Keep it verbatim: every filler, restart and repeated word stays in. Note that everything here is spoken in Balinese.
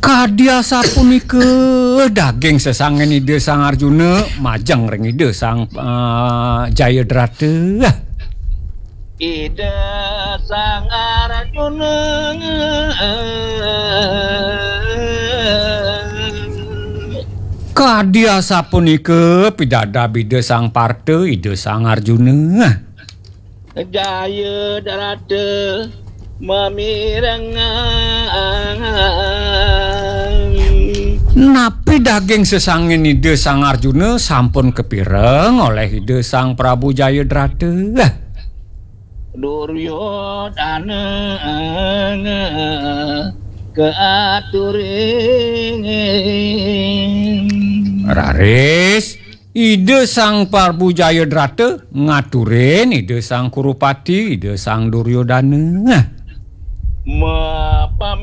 Kadi asapunika daging sesangin Ida Sang Arjuna majeng ring Ida Sang, eh, Jayadrata. Ida Sang Arjuna. Kadi asapunika pidabdab Ida Sang Parta, Ida Sang Arjuna. Jayadrata mamireng. Napi daging sesangin Ida Sang Arjuna sampun kapireng oleh Ida Sang Prabu Jayadrata? Duryodana kaaturing. Raris Ida Sang Prabu Jayadrata ngaturin Ida Sang Kurupati, Ida Sang Duryodana. Ma